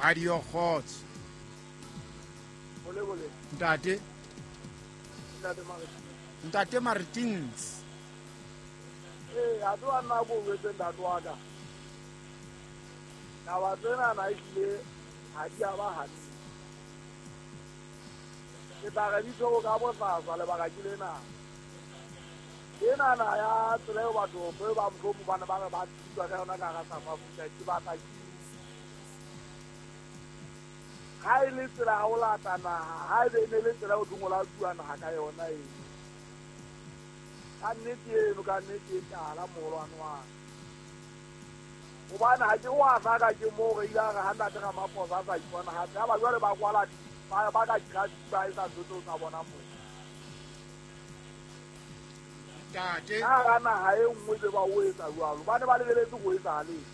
Radio Kgotso. Bole bole. Ntate. Ntate Martins. Ntate Martins. Ee, a tlo nna ko jwetse ntate wa ka. Taba tsena na ehlile ha di a ba hantle. Ke tla re di tshwere ka bosasa lebaka ke lena. Enana ya tsela eo batho ba mohlomong ba ne ba re ba thuswa ka yona ka hara South Africa ke batla ke ha e le tsela ya ho lata naha, ha ebe e ne le tsela eo thweng o latuwa naha ka yona eno. Ka nnete eno, ka nnete e tala moholwane wa ka. Hobane ha ke wa hlaka ke moo re ile ra re ha ntate Ramaphosa a sa ipona hape, ya ba jwale ba kwala ba ka traffic ba etsa ntho tseo tsa bona moo. Ntate. Ka hara naha e nngwe be ba o etsa jwalo, ba ne ba lebeletse ho etsahaleng.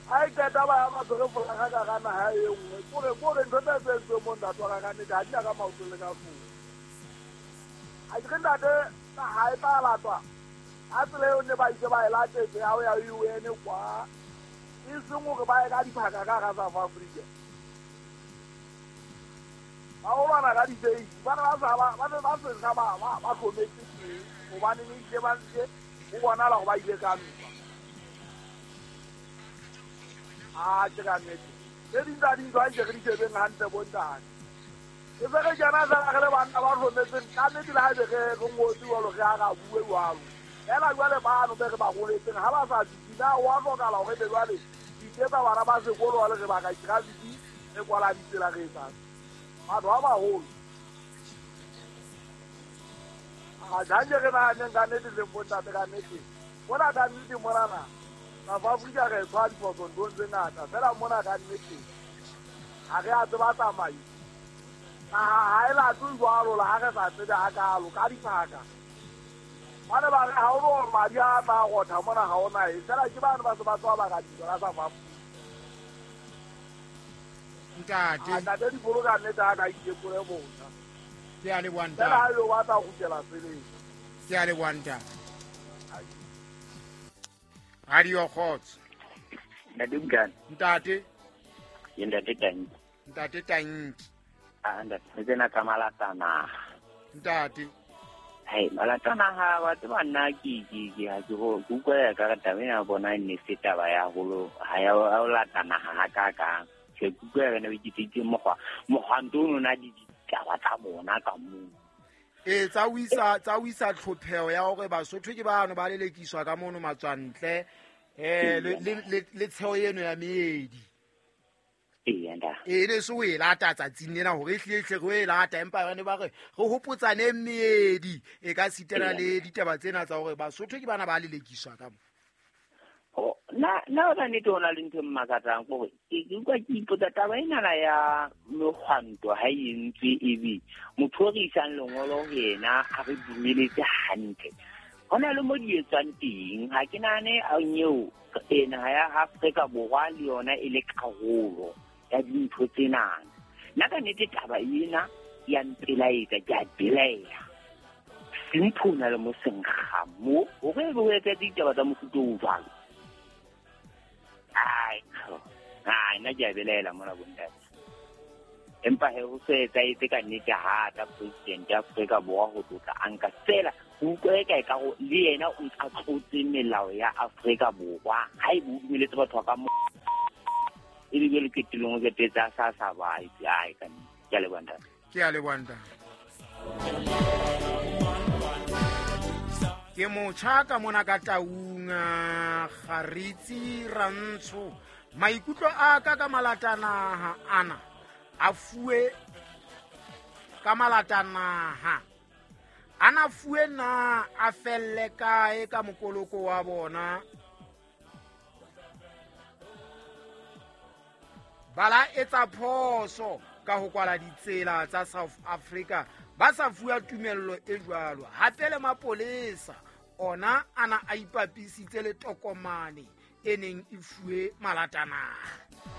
Ha e qeta ba ya ba tshwere folaga ka hara naha e nngwe, kore ntho tse tse entsweng mo ntate wa ka ka nnete ha di na ka maoto le ka hlooho. Ha ke re ntate naha e tla latwa ka tsela eo ne ba ise ba e latetse ya ho ya UN kwa, e seng hore ba ye ka diphaka ka hara South Africa. Ba ho lwana ka difeisi, ba ne ba sa ba ne ba se ba ba hlometse teng, hobane ne ile ba ntse ho bonahala hore ba ile ka ntwa. A ke ka nnete. Tse ding tsa dintho ha nke re di shebeng hantle bo ntate. E se re kena fela re le banna ba hlometseng, ka nnete le ha ebe re ngotse jwalo, re a ra bue jwalo. Fela jwale bano be re ba holetseng ha ba sa dutse, na ho a hlokahala hore ebe jwale re iketsa bana ba sekolo jwale re baka traffic, re kwala ditsela re etsang. Batho ba baholo. A janje re nahaneng ka nnete leng bo ntate ka nnete. Mona ka nnete monana, South Africa re tshwara diphoso nthong tse ngata. Fela mona ka nnete, ha re a tseba tsamaiso. Naha ha e latwe jwalo le ha re sa tsebe hakalo ka diphaka. Ba ne ba re ha o no madi a tla rotha mona ha ona e. Fela ke bano ba se ba tswa baka dintwa ka South Africa. Ntate. A ntate dipolo ka nnete ha ka itekole botjha. Ke a leboha ntate. Fela ha yo batla ho kgutlela tseleng. Ke a leboha ntate. Radio Kgotso. Ntate Bukane. Ntate. Ke ntate Tanki. Ntate Tanki. Ah, ntate, tsena tsa malata naha. Ntate. Hai, malata naha wa tseba nna ke ha ke ho ke utlwa ya ka re taba ena ya bona e ne se taba ya holo, ha ya ho lata naha ha ka kang. Ke utlwa ya re ke tsitse mokgwa ntho ono na di ditaba tsa bona ka moo. Ee, tsa o isa tlhopheho ya hore Basotho ke bano ba lelekiswa ka mono matswantle, le tsheho eno ya meedi. Ee, ntate. Ee, ne se o e lata tsatsing lena hore e hlile hle re o e lata, empa ba ne ba re re hopotsane meedi e ka sitana le ditaba tsena tsa hore Basotho ke bana ba lelekiswa ka mo. Na na nnete ho na le ntho e mmakatsang kore ke utlwa ke ipotsa taba enana ya mehwanto ha e entswe ebe motho o re isang lengolo ho yena a re dumeletse hantle. Ho na le mo di etswang teng, ha ke nahane eo naha ya Afrika Borwa le yona e le karolo ya dintho tsenana. Nna ka nnete taba ena ya mpelaetsa, ke a belaela. Simpho o na le mo senkga mo, hore ebe ho etsa ditaba tsa mofuta o jwalo. Ai, ai, nna ke a belaela mona bontate. Empa he ho se etsahetse ka nnete ha tla president ya Afrika Borwa ho tlotla a nka fela, ho utlwa eka e ka ho le yena o ntse a tlotse melao ya Afrika Borwa. Ha ebe o dumeletse batho ba ka mo e be jwale qetellong o qetetse a sa ba itse, ai, ka nnete. Ke a leboha ntate. Ke a leboha ntate. Ke motjha ka mona ka Taung, Kgaritsi Rantsho. Maikutlo a ka ka malatanaha ana a fuwe ka malatanaha ana fuwe na a felle kae ka mokoloko wa bona. Bala etsa phoso ka ho kwala ditsela tsa South Africa ba sa fuwa tumello e jwalo. Hape le mapolesa ona ana a ipapisitse le tokomane e neng e fuwe malatanaha.